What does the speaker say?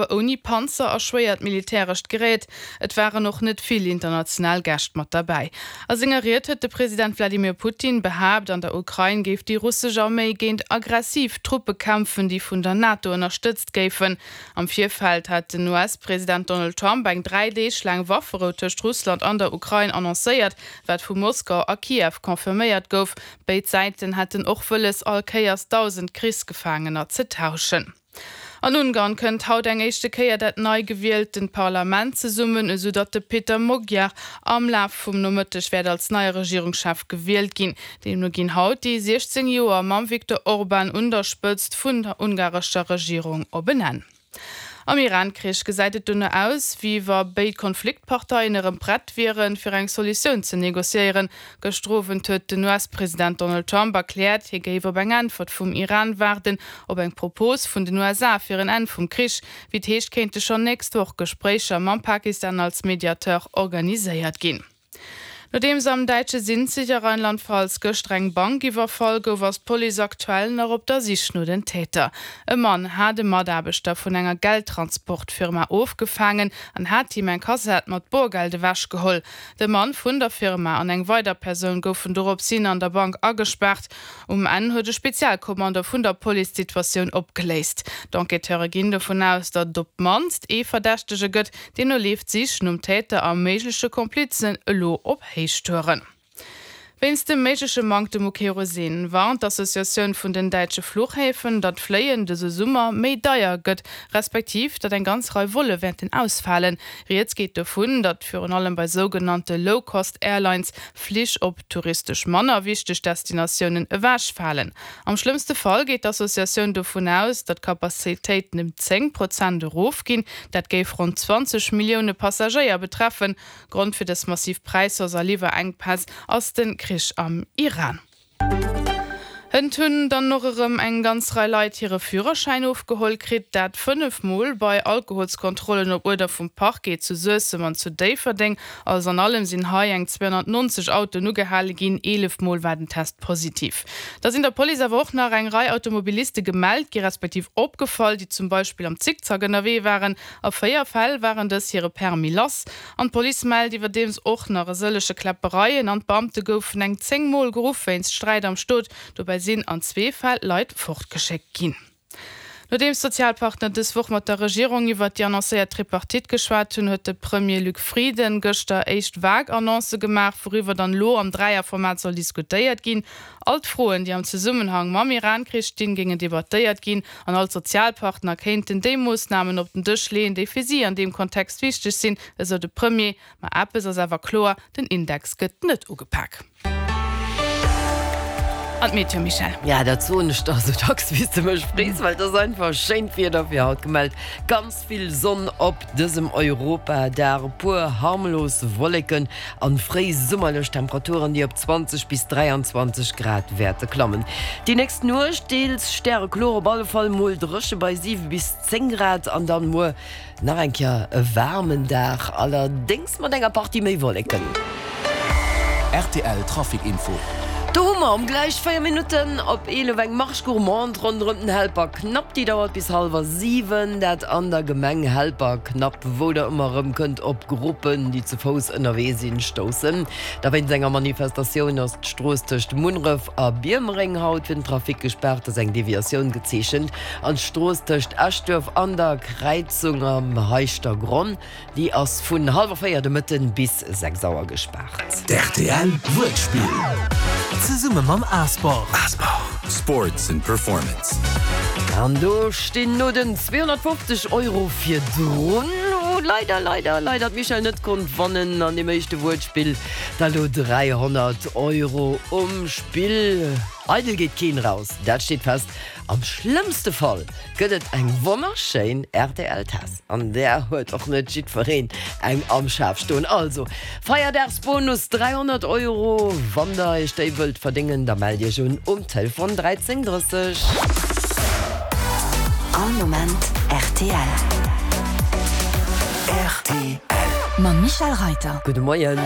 Ouni Panzer a schwéiert militärescht Gerät. Et waren och net vill international Gäscht mat derbäi. A senger Ried huet de President Wladimir Putin behaapt, an der Ukrain géif déi russesch Arméi géint aggressiv Truppe kämpfen, déi vun der NATO ënnerstëtzt géifen. Am Virfeld hat den US-President Donald Trump eng 3 Deeg laang Wafferou tëscht Russland an der Ukrain annoncéiert, wat vu Moskau a Kiew confirméiert gouf. Béid Säiten hätten och wëlles, all Kéiers 1.000 Krichsgefaangener ze tauschen. An Ungarn kënnt haut eng éischte Kéier dat nei gewieltent Parlament zesummen, esou datt de Peter Magyar am Laf vum Nomëtteg wäert als neie Regierungschef gewielt ginn. Deemno ginn haut déi 16 Joer mam Viktor Orban un der Spëtzt vun der ungarescher Regierung op en Enn. Am Iran-Krich gesäit et dono aus, wéi wa béid Konfliktparteien erëm prett wieren, fir eng Solutioun ze negociéieren. Gëschter Owend huet den US-President Donald Trump erkläert, hie géif op eng Äntwert vum Iran waarden, op eng Propos vun den USA fir en Enn vum Krich. Wéi et heescht, kéinte schonn nächst Woch Gespréicher mam Pakistan als Mediateur organiséiert ginn. Nodeems am däitsche Sinzig a Rheinland-Pfalz gëschter eng Bank iwwerfall gouf, ass d'Police aktuell nach op der Sich no den Täter. E Mann hat e Mataarbechter vun enger Geldtransportfirma ofgefaangen an hat him eng Kassett mat Borgeld ewechgeholl. De Mann vun der Firma an eng weider Persoun goufen dorops hin an der Bank agespaart. Um Enn huet e Spezialkommando vun der Police d'Situatioun opgeléist. D'Enquêteure ginn dovun aus, datt et op d'mannst ee Verdächtege gëtt, Deemno leeft d'Sich nom Täter a méigleche Komplizen elo op Héichtouren. Wéinst dem méigleche Manktem u Kerosin warnt d'Associatioun vun den däitsche Fluchhäfen, datt d'Fléien dëse Summer méi deier gëtt, respektiv datt eng ganz Rei Volle wäerten ausfalen. Rieds geet dovun, datt virun allem bei sougenannte Low-Cost-Airlines Flich op touristesch manner wichteg Destinatiounen ewechfalen. Am schlëmmste Fall geet d'Associatioun dovun aus, datt d'Capacitéiten ëm 10 Prozent erofginn. Dat géif ronn 20 Millioune Passagéier betreffen. Grond fir dës massiv Präishausse a Liwwerenkpäss ass de Krich am Iran. Hënt hunn dann och erëm eng ganz Rei Leit hire Führerschäin ofgeholl kritt, dat 5 Mol bei Alkoholskontrollen op Uerder vum Parquet zu Suessem an zu Déifferdeng. Alles an allem sinn hei eng 290 Autoen ugehale ginn, 11 Mol war den Test positiv. Da sinn der Police awer och nach eng Rei Automobiliste gemellt gi respektiv opgefall, déi zum Beispill am Zickzack ënnerwee waren. A 4 Fäll waren dës hire Permis lass. An d'Police mellt iwwerdeems och nach e sëllege Kläppereien an d'Beamte goufen eng 10 Mol geruff wéinst Sträit am Stot. Dobäi sinn an zwee Fäll Leit fortgeschéckt ginn. Nodeems d'Sozialpartner dës Woch mat der Regierung iwwert déi annoncéiert Tripartite geschwat hunn, huet de Premier Luc Frieden gëschter éischt vag Annoncë gemaach, wouriwwer dann elo am Dräierformat soll diskutéiert ginn. All d'Froen, déi am Zesummenhang mam Iran-Krich stinn, géingen debattéiert ginn an all d'Sozialpartner kéinten déi Moossnamen op den Dësch leeën, déi fir si an deem Kontext wichteg sinn, esou de Premier. Ma eppes ass awer kloer, Den Index gëtt net ugepak. An d'Meteo, Michèle? Ja, dat soen ech der esou dacks wéi s de mech frees, well et ass einfach schéint Wieder fir haut gemellt. Ganz vill Sonn op dësem Europadag, e puer harmlos Wolleken an fréi summerlech Temperaturen, déi op 20 bis 23 Grad wäerte klammen. Déi nächst Nuecht deels stärekloer, op alle Fall mol dréche bei 7 bis 10 Grad an dann muer Nach eng Kéier e waarmen Dag, allerdéngs mat enger Partie méi Wolleken. Rtl Trafic Info. Do hu mer um gläich 4 Minutten op 11 eng Marche gourmande ronderëm den Helperknapp. Déi dauert bis hallwer 7, dat an der Gemeng Helperknapp, wou der ëmmer erëm kënnt op Gruppen, déi ze Fouss ënnerwee sinn, stoussen. Da wéinst enger Manifestatioun ass d'Strooss tëscht Munneref a Biermereng haut fir den Trafic gespaart, ass eng Deviatioun gezeechent. An d'Strooss tëscht Eschduerf an der Kräizung am Heischtergronn, déi ass vun hallwer 4 de Mëtten bis 6 Auer gespaart. D'RTL Wuertspill zesumme mam Asport. Sports and Performance. An do stinn no den 250 Euro virdrun, wou leider, leider, leider d'Michèle net konnt wannen an deem éischte Wuertspill, da lo 300 Euro um Spill. Eidel geet keen raus, dat steet fest. Am schlëmmste Fall gëtt et eng wonnerschéin RTL-Taass, an där huet och net jiddwereen eng am Schaf stoen. Also, Feierdagsbonus 300 Euro, wann der iech déi wëllt verdéngen, da mellt iech un um Telefon 13 30. All Moment rtl. Rtl. Mam Michèle Reiter. Gudde Moien.